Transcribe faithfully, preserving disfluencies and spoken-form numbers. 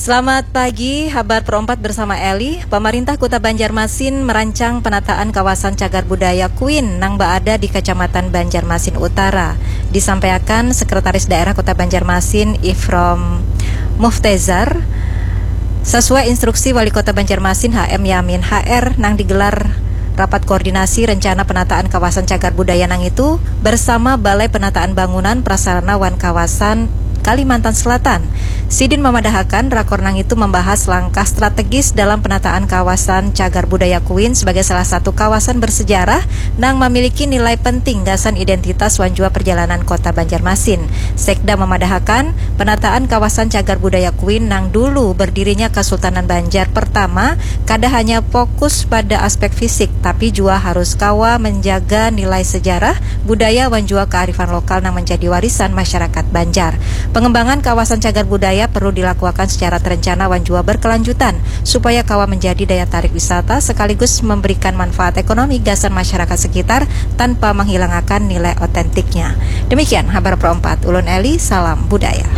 Selamat pagi, Habar Pro empat bersama Eli. Pamarintah Kuta Banjarmasin merancang penataan kawasan cagar budaya Kuin nang baada di Kacamatan Banjarmasin Utara. Disampaiakan Sekretaris Daerah Kuta Banjarmasin, Ifrom Muftezar, sasuai instruksi Wali Kota Banjarmasin, H M Yamin H R, nang digelar Rapat Koordinasi Rencana Penataan Kawasan Cagar Budaya nangitu bersama Balai Penataan Bangunan, Prasarana wan Kawasan Kalimantan Selatan. Sidin mamadahakan, rakor nangitu mambahas langkah strategis dalam penataan kawasan cagar budaya Kuin sebagai salah satu kawasan bersejarah nang mamiliki nilai penting gasan identitas wan jua perjalanan Kota Banjarmasin. Sekda mamadahakan, penataan kawasan cagar budaya Kuin nang dulu berdirinya Kesultanan Banjar pertama kada hanya fokus pada aspek fisik, tapi jua harus kawa menjaga nilai sejarah, budaya, wan jua kearifan lokal nang menjadi warisan masyarakat Banjar. Pengembangan kawasan cagar budaya perlu dilakukan secara terencana wan jua berkelanjutan, supaya kawa menjadi daya tarik wisata sekaligus memberikan manfaat ekonomi gasan masyarakat sekitar tanpa menghilangakan nilai otentiknya. Demikian Habar Pro empat, ulun Eli, salam budaya.